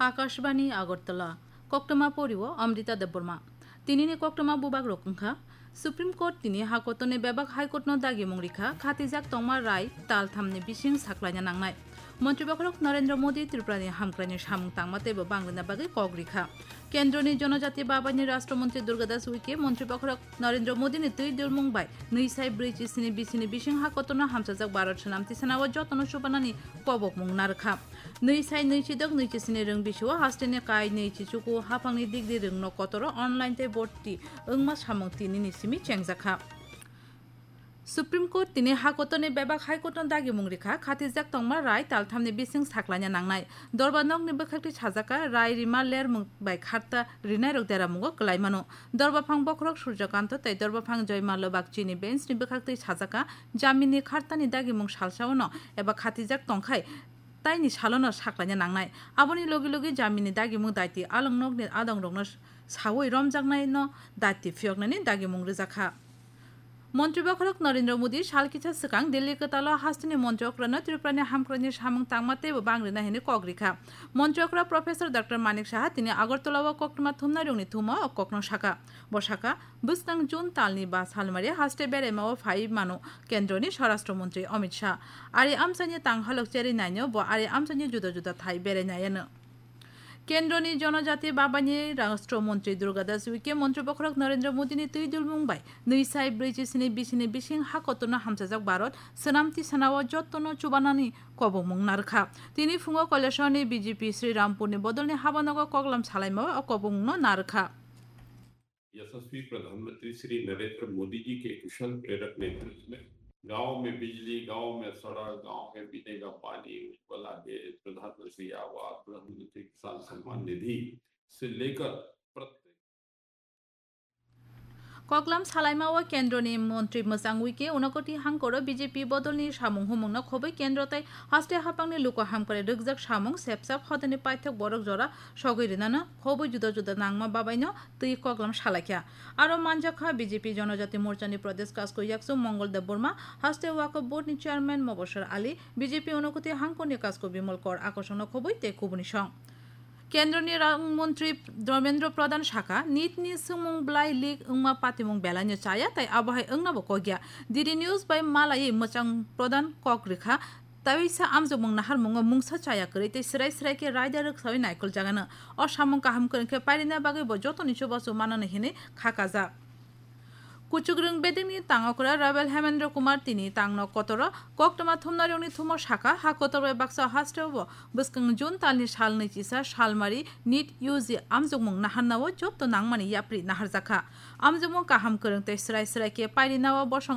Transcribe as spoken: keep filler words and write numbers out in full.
Akashbani Agartala, koktwma porio Amrita Debbarma. Tinini koktwma bubak rok wngkha, Supreme Court tini hakotorni bebak High Court no dagimung rikha, khatijak tongma rai talthamni bising saklaina nangnai. Montri bokhorok Narendra Modi Tripurani hamkraini samung tangma teibo bangrina bagwi kok rikha. Kendroni Jonojati Babaini Rashtra Montri Durga Das Uike montri bokhorok Narendra Modini twi dulmung bai nwi sai brwi chisini bisini bising hakotorno hamsajak Bharat swnam tisanao jotono chubanani kobokmung narwkha. Nwi sai nwi chidok nwi chisini rwng bisio hasteni kai nwi chichuku haphangni digdi rwngno kotoro online tei borti wngma samung tinini simi chengjakha. Supreme Court tini hakotorni bebak High Court no dagimung rikha, khatijak tongma rai talthamni bising saklaina nangnai. Dorba nokni bwkhakti sajaka rai rima lermung bai kharta rinairok deramungo kwlai mano. Dorba phang bokhorok Surjakanto tei dorba phang Joymallo Bagchini bench ni bwkhakti sajaka jamini khartani dagimung salsaono eba khatijak tongkhai taini salono saklaina nangnai. Aboni logi logi jamini dagimung daiti along nokni adongrokno sawi romjaknaino daiti phiyoknani dagimung rwjakha. Montri bokhorok Narendra Modi sal kisa swkang Delhi kwtalo hasteni montri okrano Tripurani hamkraini samung tangma teibo bangrina hwnwi kok rikha. Montri okra Professor Doctor Manik Saha tini Agartala o koktwma thumnairokni thumo o kokno saka. Bo saka, bwskang June talni ba salmari haste beraima o phai mano kendroni Swarashtra Montri Amit Shah. Ari amchaini tanghalok cheri naino bo ari amchaini juda juda thai berai naiano. Kendroni Jonojati Babaini Rashtra Montri Durga Das Uike montri bokhorok Narendra Modini twi dulmung bai nwi sai brwi chisini bisini bising hakotorno hamsajak Bharat swnam tisanao jotono chubanani kobokmung narwkha. Tini phungo Kailashahorni B J P Sri Rampurni bodolni habanogo koklam salaima o kobokmungno narwkha. यशस्वी प्रधानमंत्री श्री नरेंद्र मोदी जी के कुशल प्रेरक नेतृत्व में गांव में बिजली, गांव में सड़क, गांव में पीने का पानी, उज्ज्वला गैस, प्रधानमंत्री आवास, प्रधानमंत्री किसान सम्मान निधि से लेकर प्रत्येक Koklam salaima o kendroni montri mwchang wike unakoti hangkoro B J P bodolni samung humungno khobwi kendro tei haste haphangni luku hamkrai rwkjak samung sepsap hodani paithak borok jora sogwi rinano khobwi juda juda nangma babaino twi koklam salaikha. Aro manjakha B J P Jonojati Morchani Pradesh Kasko Yaksu Mongol Debbarma, haste Waqf Board ni Chairman Mobashar Ali, B J P Unakoti Hangkorni Kasko Bimal Kor Akosongno khobwi tei kubuni song. Kendroni Rang Montri Dharmendra Pradhan saka, nit ni swngmung bwlai leak wngma patimung belaino chaya tei abohai wngnabo kokya. D D News bai malaiwi mwchang Pradhan kok rwkha, Taisa amjokmung naharmungo mungsa chaya kwrwi tei swrai swrai khe raida rwksawi naikol jagano. O samung kaham kwrwng khe pairina bagwi bo jotoni chubachu manani hinwi kha kajak. Kuchukrwng bedekni tang okra Rabel Hemendra Kumar tini tangno kotoro koktwma thumnairokni thumo saka, ha kotor bai baksa hasteo bo bwskang June talni sal nwi chisa salmari nit U G amjokmung naharnao jotto nangmani yapri naharjakha. Amjokmung kaham kwrwng tei swrai swrai khe pairinao bosong